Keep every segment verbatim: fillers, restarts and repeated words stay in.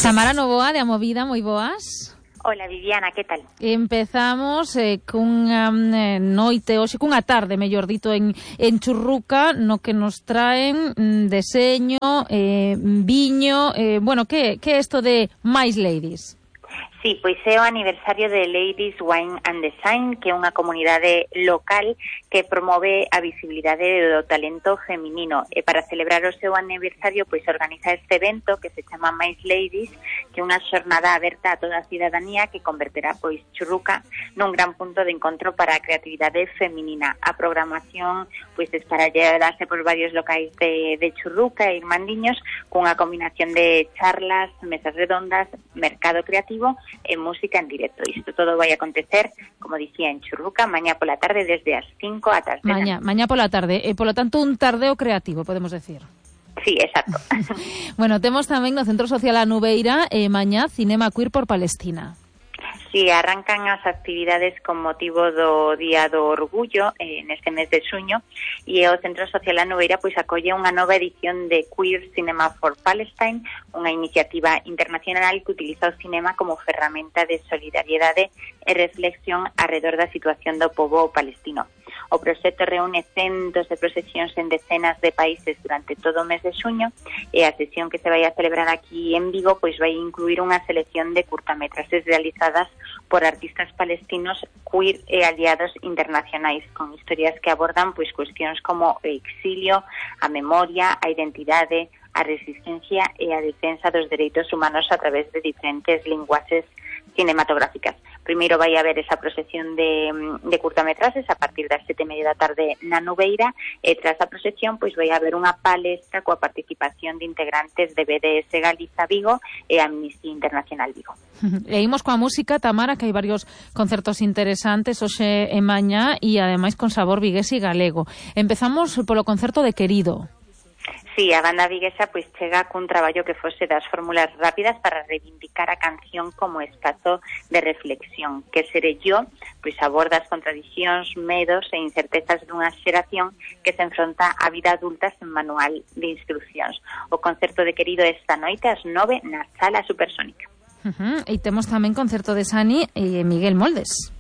Tamara Novoa, de Amovida, moi boas. Hola Viviana, que tal? Empezamos eh, cunha eh, noite, hoxe cunha tarde, mellor dito, en, en Churruca, no que nos traen mm, deseño, eh, viño, eh, bueno, que, que é isto de máis ladies? Sí, pois é o aniversario de Ladies Wine and Design, que é unha comunidade local que promove a visibilidade do talento feminino. E para celebrar o seu aniversario, pois organiza este evento que se chama Mais Ladies, que é unha xornada aberta a toda a cidadanía que converterá pois Churruca nun gran punto de encontro para a creatividade feminina. A programación pois esparallarase por varios locais de, de Churruca e Irmandiños, cunha combinación de charlas, mesas redondas, mercado creativo e música en directo. Isto todo vai acontecer, como dicía, en Churruca, mañá pola tarde desde as cinco ata as dez. Mañá, mañá pola tarde, e polo tanto un tardeo creativo, podemos decir. Sí, exacto. Bueno, temos tamén no Centro Social A Nubeira e mañá Cinema Queer por Palestina. Sí, arrancan as actividades con motivo do Día do Orgullo eh, neste mes de xuño, e o Centro Social A Nubeira pois acolle unha nova edición de Queer Cinema for Palestine, unha iniciativa internacional que utiliza o cinema como ferramenta de solidariedade e reflexión alrededor da situación do pobo palestino. O proxecto reúne centos de procesións en decenas de países durante todo o mes de xuño, e a sesión que se vai a celebrar aquí en Vigo pois vai incluir unha selección de curtametraxes realizadas por artistas palestinos queer e aliados internacionais, con historias que abordan pois cuestións como o exilio, a memoria, a identidade, a resistencia e a defensa dos dereitos humanos a través de diferentes linguaxes cinematográficas. Primeiro vai haber esa procesión de, de curtametraxes a partir das sete e media da tarde na Nubeira, e tras a procesión pois vai haber unha palestra coa participación de integrantes de B D S Galiza Vigo e Amnistía Internacional Vigo. E imos coa música, Tamara, que hai varios concertos interesantes hoxe e mañá, e ademais con sabor vigués e galego. Empezamos polo concerto de Querido. Sí, a banda viguesa pois chega cun traballo que fose das fórmulas rápidas para reivindicar a canción como espazo de reflexión, que Seré yo pois aborda as contradicións, medos e incertezas dunha xeración que se enfronta á vida adulta sen manual de instruccións. O concerto de Querido esta noite ás nove na Sala Supersónica. Uh-huh. E temos tamén concerto de Sani e Miguel Moldes.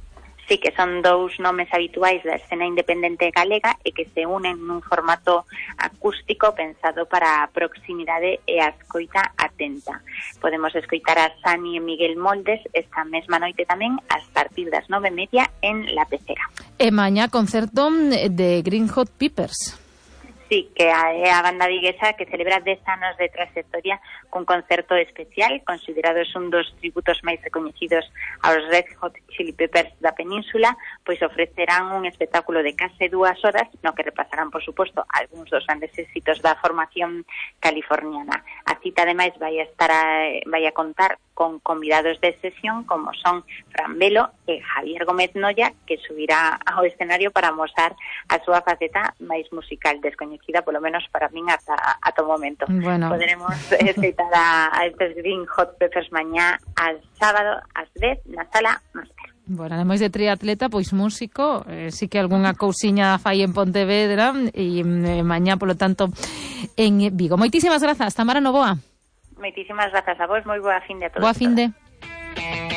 Sí, que son dous nomes habituais da escena independente galega e que se unen nun formato acústico pensado para a proximidade e a escoita atenta. Podemos escoitar a Sani e Miguel Moldes esta mesma noite tamén a partir das nove e media en La Pecera. E mañá concerto de Green Hot Peppers. Sí, que é a banda viguesa que celebra dez anos de trayectoria cun concerto especial, considerados un dos tributos máis recoñecidos aos Red Hot Chili Peppers da península, pois ofrecerán un espectáculo de case dúas horas, no que repasarán, por suposto, algúns dos grandes éxitos da formación californiana. A cita, ademais, vai a estar a, vai a contar con convidados de sesión como son Fran Velo e Javier Gómez Noya, que subirá ao escenario para mostrar a súa faceta máis musical, descoñecida, polo menos para min, ata, ata o momento. Bueno. Poderemos escoitar a, a estes Green Hot Peppers mañá al sábado ás dez na Sala Máster. Bueno, ademais de triatleta, pois músico, eh, sí que algunha cousiña fai en Pontevedra e eh, mañá, polo tanto, en Vigo. Moitísimas grazas, Tamara Novoa. Moitísimas grazas a vos, moi boa fin de a todos. Boa fin de.